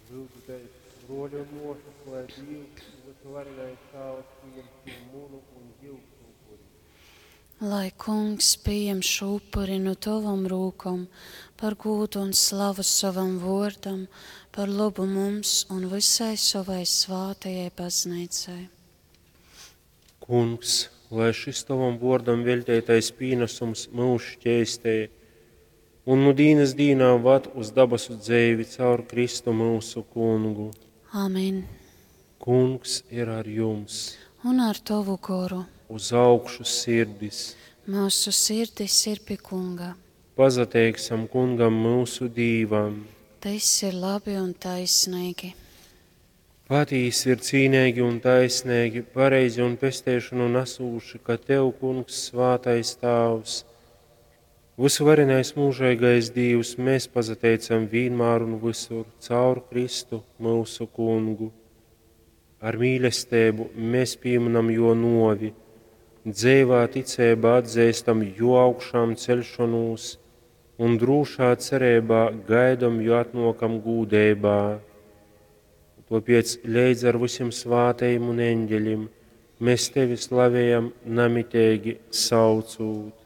Lyudzitēs, bruoļi un muosys, lai Dīvs, Vysuvarenais Tāvs, pījem šū munu un jiusu upuri. Lai Kungs pieņem šo upuri no tavam rūkom par gūdu un slavu savam vōrdam, par lobu mums un visai savai svātajai baznīcai. Kungs, lai šis tovam vuordam veļteitais pīnasums myus šķeistej un nu dīnys dīnā vad uz dabasu dzeivi caur Kristu myusu Kungu. Amen. Kungs ir ar jums! Un ar tavu goru. Uz augšu sirdis! Mūsu sirdis ir pie Kunga. Pasateiksim Kungam myusu Dīvam! Tas ir labi un taisnīgi. Patīsi ir cīneigi un taisneigi, pareizi un pesteišonu nasūši, ka Tev, Kungs, svātais Tāvs, vysuvarenais mūžeigais Dīvs, mēs pasateicam vīnmār un visur caur Kristu myusu Kungu. Ar mīlestību mēs pieminam jo novi, dzeivā ticeibā atzīstam jo augšām celšanos un drūšā cerībā gaidom jo atnokam gūdeibā. Tāpēc leidz ar visiem svātajiem un eņģeļiem mēs tevi slavējam namiteigi saucūt.